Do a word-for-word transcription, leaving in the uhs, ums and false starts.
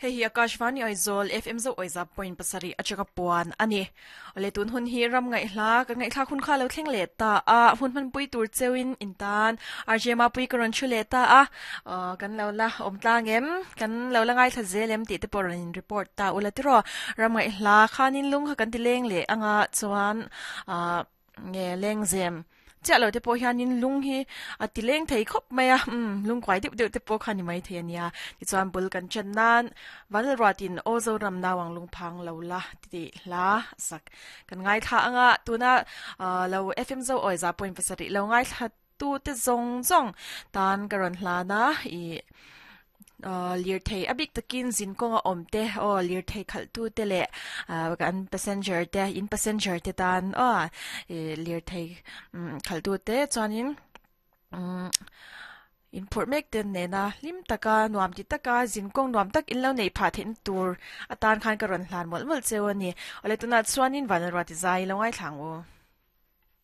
Hei hi Akashvani Aizawl F M zo oiza point pasarih atanga puan ani. Ole tun hun hi ram ngai hla ka ngai thla khun kha lo thleng le ta a hun man pui tur chewin in tan R J ma pui karon chu le ta a kan lo la om tlang em kan lo la ngai thla zelem ti te porin report ta ula tiro ram ngai hla khanin lung kha kan ti leng le anga chuan a nge leng zem cha lo te po hianin lung hi a ti leng thei khop mai a um lung kwai deuh deuh te po khani mai thei ania ti chuan bul kan chan nan vanal ratin ozo ram nawang lung phang lo la ti hla sak kan ngai tha anga tuna lo F M zo oi za point pasari lo ngai thla tu te zong zong tan karon hla na i lir thei abik takin zin konga om te o lir thei khal tu te le kan passenger te in passenger te tan o lir thei khal tu te chuanin in phur mek ten ne na lim taka nuam ti taka zin kong nuam tak in lo nei pha thin tur atan khan ka ron hlan mol mol cheu ani ole tuna chuanin vanalwa ti zai lo ngai thlang u.